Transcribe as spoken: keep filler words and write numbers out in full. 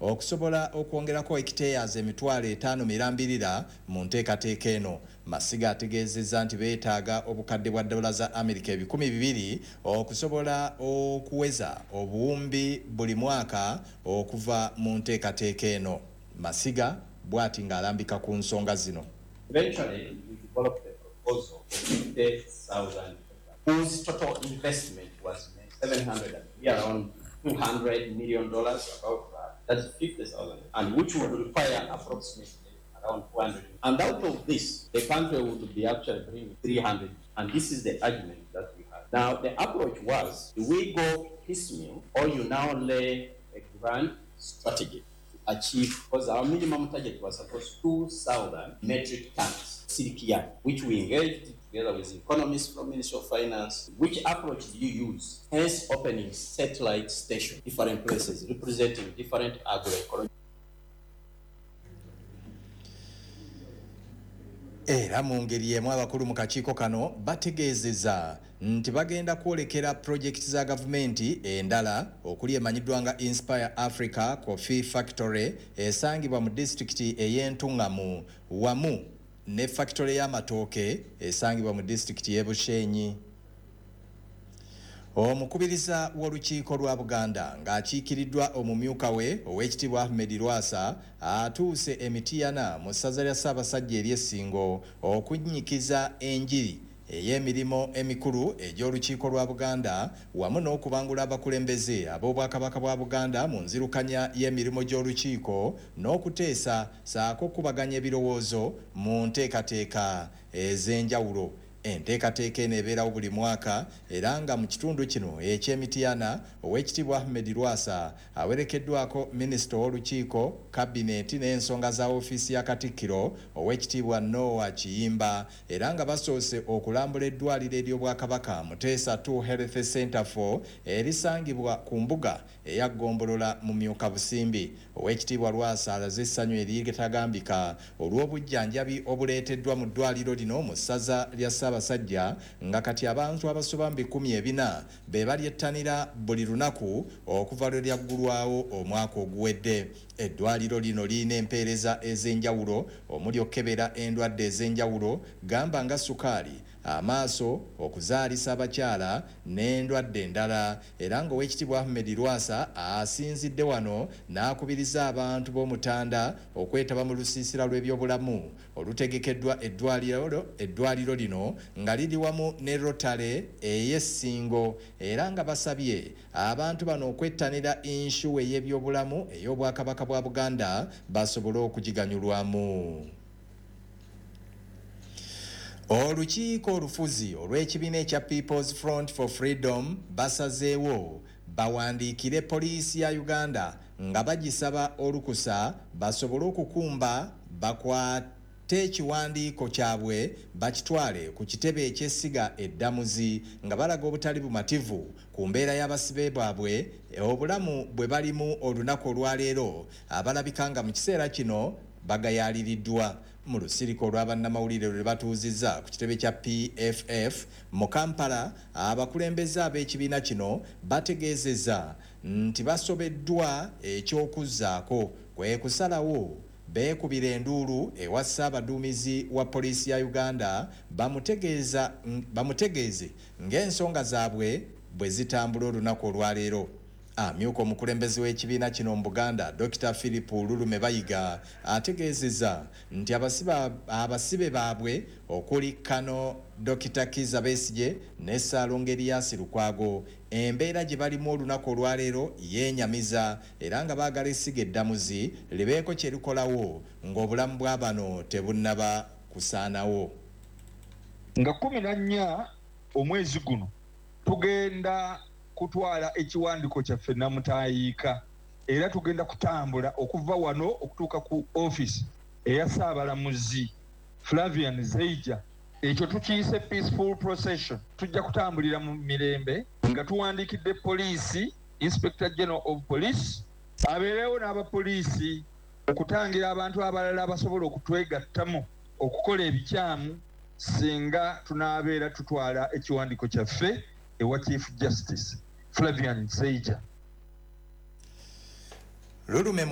okusobola okwongerako hectares emitwalo etaano mirambirira mu nteekateeka eno. Masiga ategeezezza nti beetaaga obukadde bwa dola za Amerika ebikumi bibiri okusobola okuweza obuwumbi buli mwaka okuva mu nteekateeka eno. Masiga bw'ati ng'alambika ku nsonga zino. Eventually, we developed a proposal for fifty thousand whose total investment was seven hundred and we are around two hundred million dollars, about that. That's fifty thousand, and which would require approximately around two hundred. And out of this, the country would be actually bringing three hundred. And this is the argument that we had. Now, the approach was, do we go piecemeal, or you now lay a grand strategy to achieve, because our minimum target was supposed two thousand metric tons, silk yarn, which we engaged together with economists from Ministry of Finance. Which approach do you use? Hence opening satellite stations, different places, representing different agroecologies. Era mu ngeri emu abakulu mu kakiiko kano bategeezezza nti bagenda kwolekera pulojekiti za gavumenti endala okuli emanyiddwa nga Inspire Africa Coffee Factory esangibwa mu disitulikiti ey'Entungamu wamu ne factory y'amatooke esangibwa mu disitulikiti y'e Bushenyi. Omukubiriza w'olukiiko lwa Buganda ng'akiikiriddwa omumyuka we ow'ekitiibwa Ahmed Lwasa atuuse e Mityana mu ssaza lya Ssaabasajja ery'Essingo okunnyikiza enjiri ey'emirimu emikulu egy'olukiiko lwa Buganda wamu n'okubangula abakulembeze ab'Obwakabaka bwa Buganda mu nzirukanya y'emirimu gy'olukiiko n'okuteesa ssaako okukubaganya ebirowoozo mu nteekateeka ez'enjawulo. Enteekateeka eno ebeerawo buli mwaka era nga mu kitundu kino eky'Emityana ow'ekitiibwa Ahmed Lwasa awerekeddwako minisita w'olukiiko, kabineeti n'ensonga za ofiisi ya Katikkiro ow'ekitiibwa Noah Kiyimba, era nga basoose okulambula eddwaliro ery'Obwakabaka Muteesa two Health Center four erisangibwa ku mbuga eya Ggombolola mu Myuka Busimbi. Ow'ekitiibwa Lwasa alaze essanyu eritagambika olw'obujjanjabi obuleeteddwa mu ddwaliro lino mu ssaza lya Ssaabasajja nga kati abantu abasoba mu bikumi ebina be balyettanira buli lunaku okuva lwe lyaggulwawo omwaka oguwedde. Eddwaliro lino lirina empeereza ez'enjawulo omuli okukebera endwadde ez'enjawulo gamba nga sukaali, amaaso, okuzaalisa abakyala n'endwadde endala, era ng'Oweekitiibwa Ahmed Lwasa asinzidde wano n'akubiriza abantu b'Omutanda okwetaba mu lusiisira lw'ebyobulamu olutegekeddwa eddwaliro eddwaliro lino nga liri wamu ne Rotary ey'Essingo, era nga basabye abantu bano okwettanira insuwa ey'ebyobulamu ey'Obwakabaka bwa Buganda basobole okugiganyulwamu. Olukiiko olufuzi olw'ekibiina ekya People's Front for Freedom basazeewo bawandiikire poliisi ya Uganda nga bagisaba olukusa basobole okukumba bakwate ekiwandiiko kyabwe bakitwale ku kitebe eky'essiga eddamuzi nga balaga obutali bumativu ku mbeera y'abasibe baabwe obulamu bwe balimu olunaku olwaleero abalabika nga mu kiseera kino bagayaaliriddwa. Mu lusirika olw'abannamawulire lwe batuuzizza ku kitebe kya P F F mu Kampala, abakulembeze ab'ekibiina kino bategeezezza nti basobeddwa eky'okuzzaako kwe kusalawo beekubira enduulu ewa Ssaabaduumizi wa poliisi ya Uganda bamutegeeza bamutegeeze ng'ensonga zaabwe bwe zitambula olunaku olwaleero. Amyuka omukulembeze w'ekibiina kino mu Buganda Dokita Philip Lulume Bayiga ategeezezza nti abasibe baabwe okuli Kano Dokita Kizza Besigye ne Ssaalongo Erias Lukwago embeera gye balimu olunaku olwaleero yeenyamiza era nga baagala essiga eddamuzi libeeko kye likolawo ng'obulamu bwa bano tebunnaba kusaanawo. Nga kkumi na nnya omwezi guno tugenda kutwala ekiwandiiko kyaffe Namutaayiika, era tugenda kutambula okuva wano okutuuka ku office eya Ssaabalamuzi Flavian Zeija. Ekyo tukiyise peaceful procession. Tujja kutambulira mu mirembe nga tuwandiikidde poliisi, Inspector General of Police abeerewo n'abapoliisi okutangira abantu abalala abasobola okutwegattamu okukola ebikyamu singa tunaabeera tutwala ekiwandiiko kyaffe ewa Chief Justice Flavian Zeija. Lulume